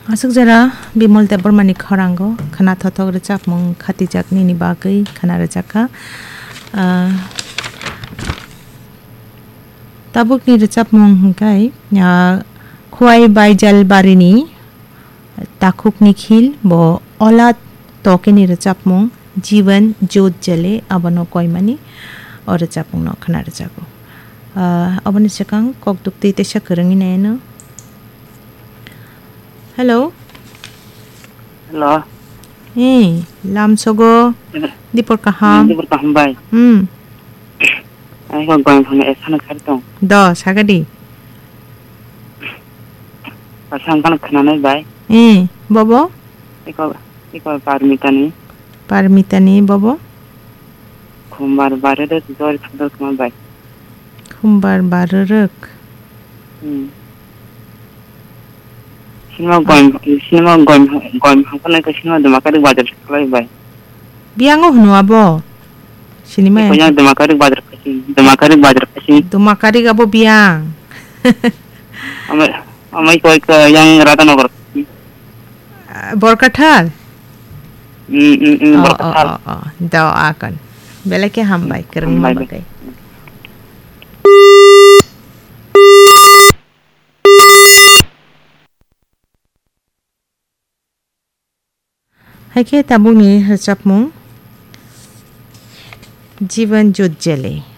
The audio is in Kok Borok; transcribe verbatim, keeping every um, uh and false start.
Aswk jora Bimal Debbarmani khorango khwna thothok rwchapmung khatijak nini bagwi khwna rwjakha. Ah, tabukni rwchapmung hwnkhe, ah, Khwai Baijal Barini Takhuk Nikhil bo Olad Tokeni rwchapmung Jiban Jot Jale abono koimani o rwchapmungno khwna rwjago. Ah, aboni swkang kok duktwi teisa kwrwngwi naino. Hello. Hello. Eh, lamsogo. Hmm. Dipor kaham. Hmm, dipor kaham bai. Hmm. Ai ko goyang phone esana khari tong. Do, sagadi. Pasang kan khana nai bai. Eh, bobo? Iko, iko Parmita ni. Parmita ni bobo? Khumbar bare de jori thador khama bai. Khumbar barorok. Hmm. Sinima goim, sinima goim, goim hapalai ka sinima Dumakarik bazar seklai bai. Biyango hwnwi abo? Sinima. Iko yang Dumakarik bazar kasi, Dumakarik bazar kasi. Dumakarik abo biyang. Amai, amai koi ka yang Radhanagar kasi. Ah, Borkathal? Hmm, hmm, hmm, oh, Borkathal. Oh, oh, oh. Dao akon. Belai khe hambai, hmm, kwrwngma hambai, bagwi. Hai khe tabukni rwchapmung Jiban Jot Jale.